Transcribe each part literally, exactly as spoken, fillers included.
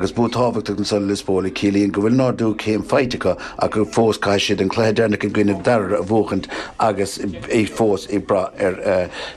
Agus bua tábhachtach anso do Lios Póil a chiallaíonn go bhfuil an t-ardú céim faighte acu ach gur fós caithfidh siad an cluiche deireanach i gcoinne Dairbhre a bhuachaint agus é fós ag brath ar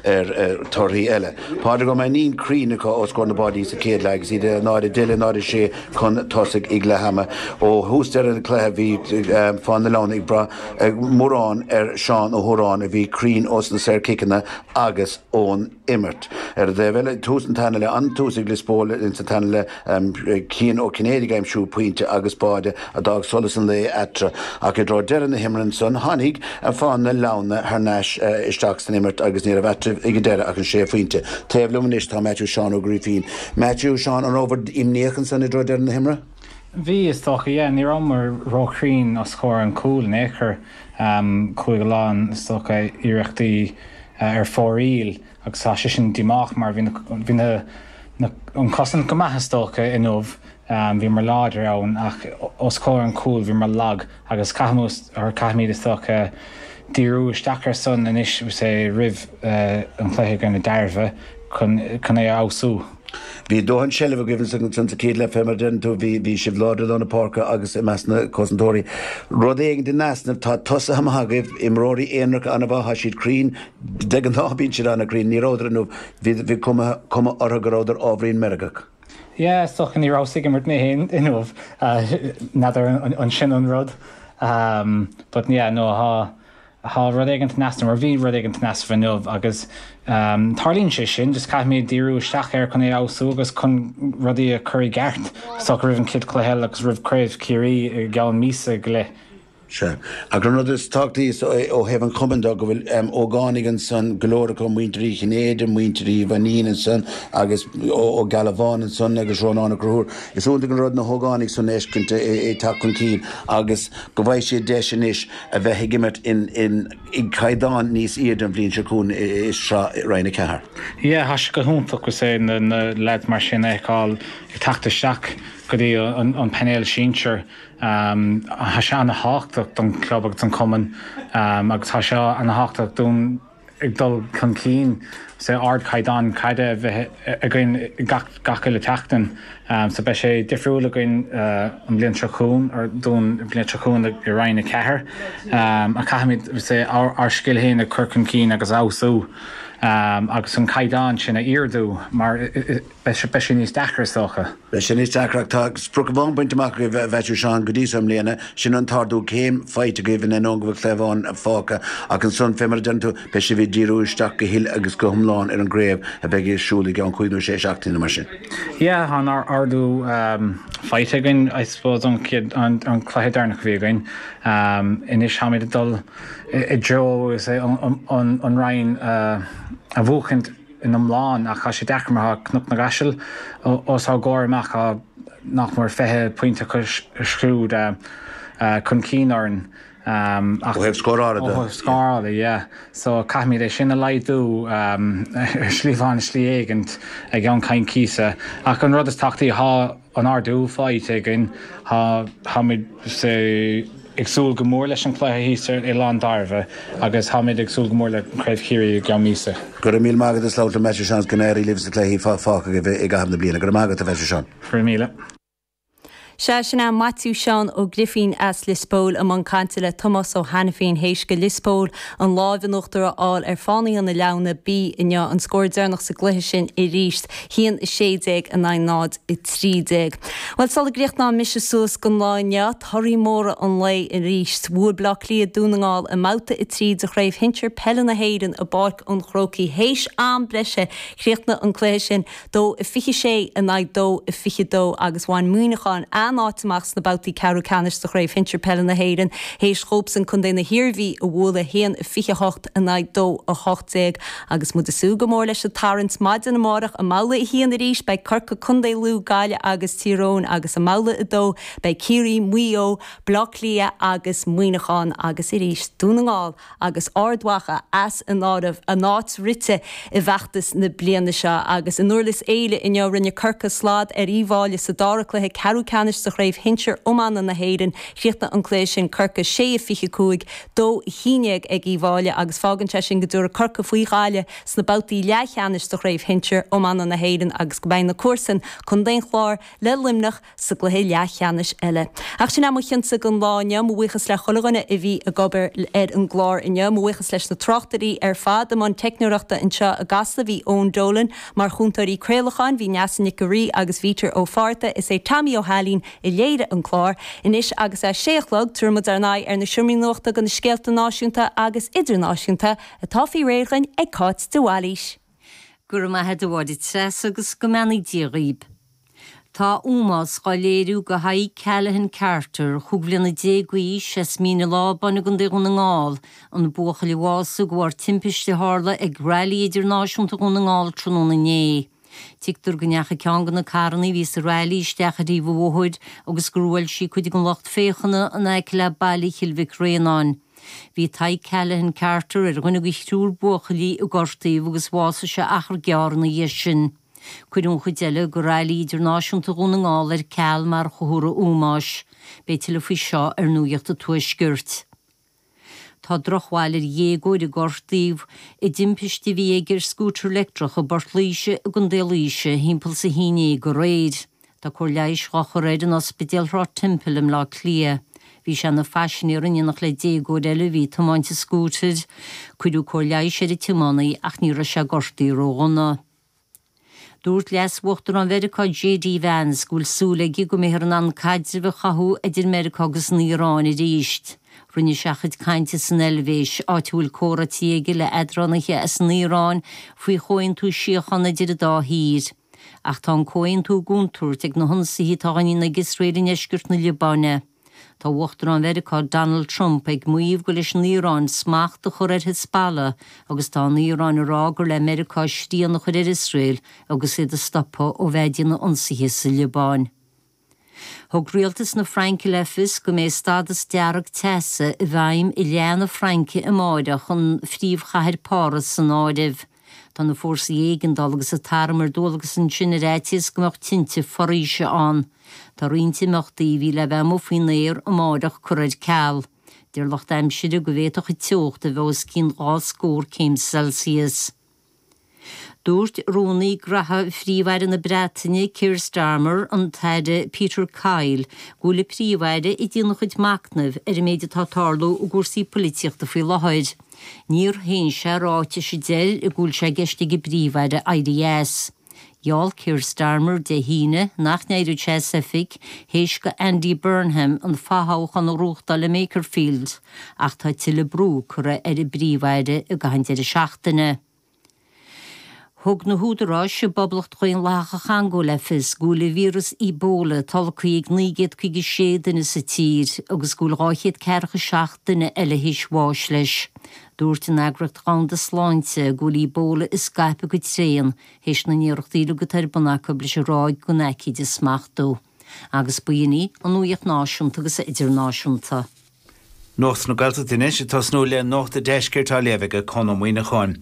ar torthaí eile. Pádraig Ó Mainnín cruinn acu os comhair na báidí sa chéad leath agus iad náid a deich le náid a sé chun tosaigh ag leath ama. Ó thús deireadh an chluiche bhí Fáth na Leamhna ag brath mórán ar Seán Ó hÓráin a bhí cruinn ós na saorchiceanna agus ón imirt. Ar an dtaobh eile, tús an tarna leath, an-tús ag Lios Póil insa tarna leath, Cian Ó Cinnéide ag aimsiú pointe agus báide a d'fhág solas an lae eatarthu. Ach i dtreo deireadh na himeartha ansan, tháinig Fáth na Leamhna thar n-ais isteach san imirt agus ní raibh eatarthu ag an deireadh ach an sé phointe. Taobh liom anois tá Matthew Seán Ó Grífín. Matthew, Seán, an rabhabhair imníoch ansan i dtreo deireadh na himeartha? Bhí, is dócha, yeah. Ní rabhamar róchruinn os comhair an chúil in aon chor. Chuaigh a lán, is dócha, iarrachtaí ar fóraoil agus tá sé sin díomách mar bhí bhí na an chosaint go maith is dócha inniu, bhíomar láidir ann ach os comhair an chúil bhíomar lag agus caithfimid or caithfimid is dócha díriú isteach ar san anois say roimh an chluiche i gcoinne Dairbhre chun chun é a fheabhsú. Bhí dóthain seilbh agaibh ansan sa chéad leath fé mar a deireann tú, bhí bhí sibh láidir i lár na páirce agus i measc na cosantóirí. Rud éigin in easnamh, tá tosaithe maith agaibh, imreoirí aonaracha an-mhaith, tá siad cruinn, de ghnáth bíonn siad an-chruinn, ní rabhadar inniu, bhí bhí cuma cuma orthu go rabhadar ábhairín meirgeach. Yeah, is dócha ní rabhas ag imirt mé féin inniu, n'fheadar an sin an rud. But yeah, no, tá Tá rud éigin in easnamh, mar bhí rud éigin in easnamh inniu agus tarlaíonn sé sin, just caithfimid díriú isteach air chun é a fheabhsú agus chun rudaí a chur i gceart so roimh an chéad chluiche eile agus roimh Craobh Chiarraí i gceann míosa go leith. Sea. Ach an rud is tábhachtaí ó thaobh an chumainn de go bhfuil ógánaigh ansan, go leor acu, muintir Uí Chinnéide, muintir Uí Mhainnín ansan agus Ó Gealbháin ansan agus Rónán Ó Conchúir. Is iontach an rud na hógánaigh san a fheiscint ag teacht chun cinn agus go bhfaighidh siad deis anois a bheith ag imirt in i gcaighdeán níos airde an bhliain seo chugainn i sraith Roinn a Ceathair. Yeah, tá sé go hiontach go say na na lads mar sin a fheiceáil ag teacht isteach go dtí an an painéal sinsir. Tá sé ana-thábhachtach don chlub agus don chumann agus tá sé ana-thábhachtach dúinn ag dul chun cinn sa ardchaighdeán caide a bheith againn gach gach uile tseachtain. So beidh sé difriúil againn an bhliain seo chugainn or dúinn an bhliain seo chugainn i Roinn a Ceathair. Ach caithfimid say ár ár scil féin a chur chun cinn agus a fheabhsú agus an caighdeán sin a ardú mar beidh sé beidh sé níos deacra is dócha. Beidh sé níos deacra ach tá sprioc amháin bainte amach agaibh a Mhaitiú Seán go dtí seo i mbliana, sin an t-ardú céim faighte agaibh in ainneoin go bhfuil cluiche amháin fágtha ach ansan fé mar a deireann tú beidh sibh ag díriú isteach go huile agus go hiomlán ar an gcraobh a bheidh ar siúl i gceann cúig nó sé seachtaine nó mar sin. Yeah, tá an ardú faighte againn I suppose an chéad an an cluiche deireanach a bhí againn. Anois táimid ag dul i dtreo an an Roinn a bhuachaint in iomlán ach tá sé deacair mar tá Cnoc na gCaiseal os ár gcomhair amach tá nach mór fiche pointe acu siúd chun cinn orainn ach Ó thaobh scórála de. Ó thaobh scórála, yeah. So caithfimid é sin a laghdú ar shlí amháin, slí éigint i gceann coicíse. Ach an rud is tábhachtaí, tá an ardú faighte againn, tá táimid say ag súil go mór leis an chluiche thíos ar Oileán Dairbhre agus táimid ag súil go mór le Craobh Chiarraí i gceann míosa. Go raibh míle maith agat as labhairt liom, Maitiú Seán, go n-éirí libh sna cluichí fágtha agaibh i gcaitheamh na bliana. Go raibh maith agat, a Mhaitiú Seán. Go raibh míle. Sea, sin é Maitiú Seán Ó Grifín as Lios Póil i mbun cainte le Tomás Ó hAiniféin théis do Lios Póil an lámh in uachtar a fháil ar Fánaithe na Leamhna B inniu, an scór deireanach sa gcluiche sin arís, haon a sé déag in aghaidh náid a trí déag. Bhuel, sula gcríochnóidh mise suas don lá inniu, torthaí móra an lae arís. Bhuail Bleá Cliath Dún na nGall i mbabhta a trí de Chraobh Shinsir Peile na hÉireann i bPáirc an Chrócaigh. Théis am breise, chríochnaigh an cluiche sin dó a fiche sé in aghaidh dó a fiche dó agus bhain Muineachán a n-áit amach sna babhtaí ceathrú ceannais de Chraobh Shinsir Peile na hÉireann théis dhóibhsean Contae na hIarmhí a bhualadh haon a fiche hocht in aghaidh dó a hocht déag agus muid ag súil go mór leis an tarraingt maidin amárach i mbabhla a haon arís beidh Corcaigh, Contae Lú, Gaillimh agus Tír Eoghain agus i mbabhla a dó beidh Ciarraí, Maigh Eo, Bleá Cliath agus Muineachán agus arís Dún na nGall agus Ard Mhacha as an áireamh, a n-áit rite i bhfeachtas na bliana seo agus i nDurlas Éile inniu rinne Corcaigh slad ar Uíbh Fhailí sa dara cluiche ceathrú ceannais leathcheannais sa chraobh shinsir iomána na hÉireann. Chríochnaigh an cluiche sin Corcaigh sé a fiche cúig, dó a haon déag ag Uíbh Fhailí agus fágann sé sin go dtabharfaidh Corcaigh faoi Ghaillimh sna babhtaí leathcheannais sa chraobh shinsir iomána na hÉireann agus go mbeidh na comharsain, Contae an Chláir le Luimneach sa gcluiche leathcheannais eile. Ach sin é mo chinnse don lá inniu, mo bhuíochas le chuile dhuine a bhí ag obair ar an gclár inniu, mo bhuíochas leis na tráchtairí ar fad, i mbun teicneoireachta anseo i gCasla bhí Eoin Dolan, mar chúntóirí craolacháin bhí Neasa Nic an Rí agus Peter Ó Fátharta, is é Tommy Ó hAilín a léirigh an clár. Anois agus é sé a chlog, tabharfaidh muid ár n-aghaidh ar na seomraí nuachta do na scéalta náisiúnta agus idirnáisiúnta atá faoi réir againn ag Cáit de Bhailís. Go raibh maith agat a Mháire Treasa agus go mbeannaí Dia dhaoib. Tá ómós á léiriú do Thadhg Callaghan Carter, chúig bhliana déag d'aois as Mín an Lábáin i gContae Dhún na nGall, an buachaill a bhásaigh de bharr timpiste a tharla ag Railí Idirnáisiúnta Dhún na nGall tráthnóna inné. Tuigtear go ndeachaigh ceann de na carranna a bhí sa railí isteach ar thaobh an bhóthair agus gur bhuail sí cuid den lucht féachana in aice le baile Chill Mhic Réanáin. Bhí Tadhg Callaghan Carter ar dhuine de thriúr buachaillí a gortaíodh agus bhásaigh sé achar gearr ina dhiaidh sin. Cuireadh an chuid eile de Railí Idirnáisiúnta Dhún na nGall ar ceal mar chomhartha ómóis. Beidh tuilleadh faoi seo ar Nuacht an Tuaiscirt. Tá drochbhail ar dhéagóir a gortaíodh i dtimpiste a bhí aige ar scútar leictreach i bPort Laoise i gContae Laoise thimpeall is a haon déag aréir. Tá cóir leighis á chur air in Ospidéal Shráid Temple i mBleá Cliath. Bhí sé ina phaisinéir in éineacht le déagóir eile a bhí ag tiomáint an scútair. Cuireadh cóir leighis ar an tiománaí ach ní raibh sé gortaithe ródhona. Dúirt Leas-Uachtarán Mheiriceá J D Vance go bhfuil súil aige go mbeifear in ann caidreamh a chothú idir Meiriceá agus an Iaráin arís. Rinne sé a chuid cainte san Eilvéis, áit a bhfuil comhráití aige le headránaithe as an Iaráin faoi chomhaontú síochána idir an dá thír. Ach tá an comhaontú i gcontúirt ag na hionsaithe atá á ndéanamh ag Iosrael i ndeisceart na Liobáine. Tá Uachtarán Mheiriceá Donald Trump ag maíomh gur leis an Iaráin smacht a chur ar Hezbollah agus tá an Iaráin ag rá gur le Meiriceá srian a chur ar Iosrael agus iad a stopadh ó bheith ag déanamh ionsaithe sa Liobáin. Thug rialtas na Fraince le fios go mbeidh stádas dearg teasa i bhfeidhm i leath na Fraince amárach an phríomhchathair Páras san áireamh. Tá na fórsaí éigeandála agus an t-arm ar dualgas ansin ar fhaitíos go mbeadh tinte foraoise ann. Tá roinnt imeachtaí a bhí le bheith amuigh faoin aer amárach curtha ar ceal. Deir lucht aimsire go bhféadfadh an teocht a bheith os cionn dhá scór céim Celsius. Dúirt rúnaí graithe Phríomh-Aire na Breataine Keir Starmer an tAire Peter Kyle go bhfuil an Príomh-Aire ag déanamh a chuid machnaimh ar an méid atá ag tarlú i gcúrsaí polaitíochta faoi láthair. Níor shéan sé ráitis a deir go bhfuil sé i gceist ag an bPríomh-Aire éirí as. Gheall Keir Starmer Dé hAoine nach n-éireodh sé as oifig théis do Andy Burnham an fothoghchán a ghnóthachtáil i Makerfield, ach tá tuilleadh brú curtha ar an bPríomh-Aire i gcaitheamh an deireadh seachtaine. Thug na húdaráis i bPoblacht Dhaonlathach an Chongó le fios go bhfuil an víreas Ebola tolgtha ag naoi gcéad caoga sé duine sa tír agus go bhfuil dhá chéad ceathracha seacht duine eile théis bháis leis. Dúirt an Eagraíocht Dhomhanda Sláinte go bhfuil Ebola ag scaipeadh go tréan théis na n-iarrachtaí uilig atá ar bun acu leis an ráig den aicíd a smachtú. Agus b'in í an nuacht náisiúnta agus idirnáisiúnta. Nuacht na Gaeltachta anois ag tosnú le Nuacht an Deiscirt á léamh ag Conn Ó Muíneacháin.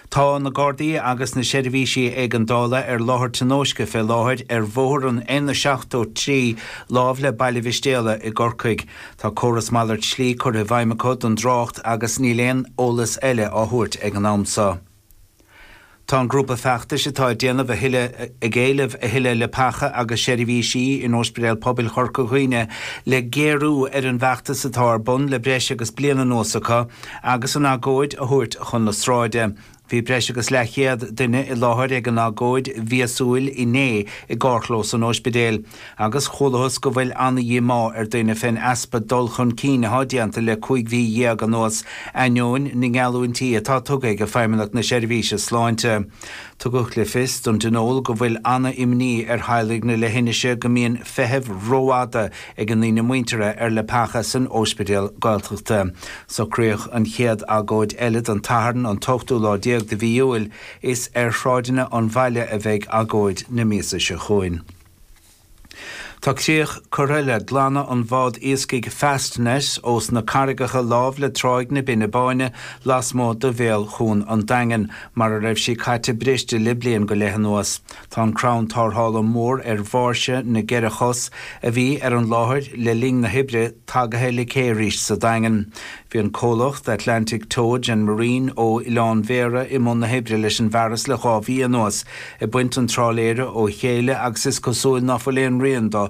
Tá na Gardaí agus na seirbhísí éigeandála ar láthair tionóisce fé láthair ar bhóthar an N seachtó trí lámh le Baile Mhistéala i gCorcaigh. Tá córas malairt slí curtha i bhfeidhm acu don dtrácht agus níl aon eolas eile á thabhairt ag an am seo. Tá an grúpa feachtais atá ag déanamh a thuilleadh ag éileamh a thuilleadh leapacha agus seirbhísí in Ospidéal Pobail Chorca Dhuibhne le géarú ar an bhfeachtas atá ar bun le breis agus bliain anuas acu agus an agóid a thabhairt chun na sráide. Bhí breis agus leathchéad duine i láthair ag an agóid mhíosúil inné i gcarrchlós an ospidéil, agus chualathas go bhfuil an-díomá ar dhaoine fén easpa dul chun cinn atá déanta le cúig mhí dhéag anuas ainneoin na ngeallúintí atá tugtha ag Feidhmeannacht na Seirbhíse Sláinte. Tugadh le fios don tionól go bhfuil an-imní ar theaghlaigh na leithinise go mbíonn feithimh rófhada ag a ndaoine muinteartha ar leapacha san ospidéal Gaeltachta. Socraíodh an chéad agóid eile don Satharn an t-ochtú lá déag de mhí Iúil is ar shráideanna an bhaile a bheidh agóid na míosa seo chugainn. Tá críoch curtha le glanadh an bhád iascaigh Fastnet ós na carraigeacha láimh le Tráigh na Binne Báine lasmuigh de bhéal Chuan an Daingin, mar a raibh sí caite briste le bliain go leith anuas. Tá an crann tarrthála mór ar bháirse na gceithre chos a bhí ar an láthair le linn na hoibre tagaithe le cé arís sa Daingean. Bhí an comhlacht Atlantic Towage and Marine ó Oileán Bhéarra i mbun na hoibre leis an bhfearas le dhá mhí anuas, ag baint an trálaeir ó chéile agus is cosúil ná fuil aon rian de